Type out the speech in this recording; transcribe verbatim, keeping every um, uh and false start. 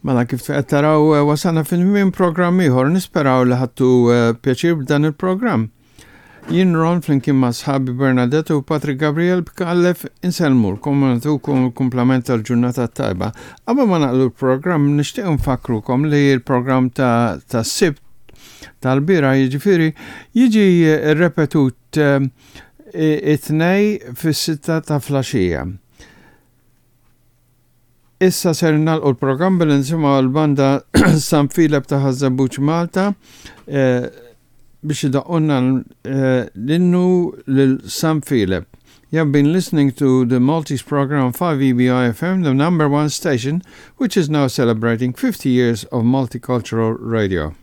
Mela kif qed taraw eh, wasalna fin programm ieħor nisperaw li ħadtu eh, pjaċir b'dan il-programm. Jien Ron flimkien ma' sħabi Bernadette u Patrick Gabriel Bkallef insellmulkom u nagħtukom il-kumplament tal-ġurnata tajba. Qabel ma nagħlqu l-programm nixtieq nfakkrukom li l-programm ta' ta' Sibt tal-bieraħ jiġifieri jiġi repetut eh, it-tnejn fis-sitta ta' filgħaxija. Issa ser nagħlqu l-programm billi nisimgħu l-banda San Filep ta' Ħaż-Żebbuġ Malta eh, biex idaqqulna eh, l-innu lil San Filep. You have been listening to the Maltese program five E B I F M, the number one station, which is now celebrating fifty years of multicultural radio.